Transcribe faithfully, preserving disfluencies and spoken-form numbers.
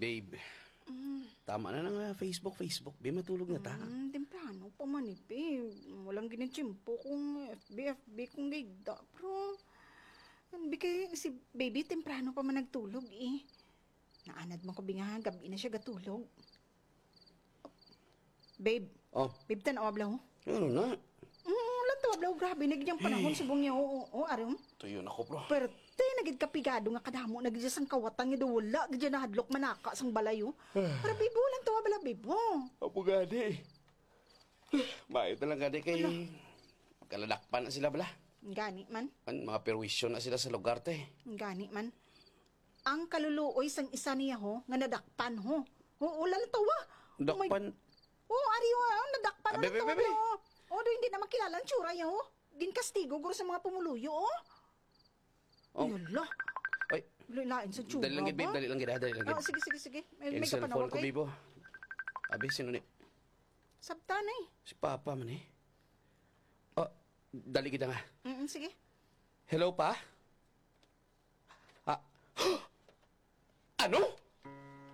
Babe, tama na na nga Facebook, Facebook. Be, matulog na ta. Mm, temprano pa man eh, babe. Walang ginitsimpo kung F B, F B kung gigda. Pero, bi kay si baby, temprano pa man nagtulog eh. Naanad man ko, bi nga, gabi na siya gatulog. Babe. Oh. Babe, tan-awa bala, oh. Ano na? Mm, lantawa bala, oh, grabe na gid ang panahon subong niya, oh, oh, oh, ari, oh. Tuyo na ko, bro. Perte na gid kapigado nga kadamo na gid siya sang kawatan nga daw wala gid siya nahadlok manaka sang balay, oh. Pero, babe, oh, lantawa bala, babe, oh. Apo gani. Maayo na lang gani kay Ano? Kaladakpan na sila bala. Gani man. An mga perwisyo na sila sa lugar, te. Gani man. Ang kaluluoy sang isa niya, ho, nga nadakpan, ho. Oo, lantawa. Oh my Dakpan? Oo, ari, oh, ah, nadakpan, Ah, bebe, lantawa, bebe. Oh. Oh, do, hindi na makilala ang tsura niya, oh. Ginkastigo guro sa mga pumuluyo, oh. Oh. Yala. Ay. Lain sa tsura Dali lang gid, babe. ba? Dali lang gid, ah, dali lang gid. Oh, sige, sige, sige. May, may Cellphone kapanawag, ko, ay. Bibo. Abi, sino ni? Sabta na, eh. Si Papa man, eh. Oh, dali gid nga. Mm, sige. Hello, Pa? Ah, ano?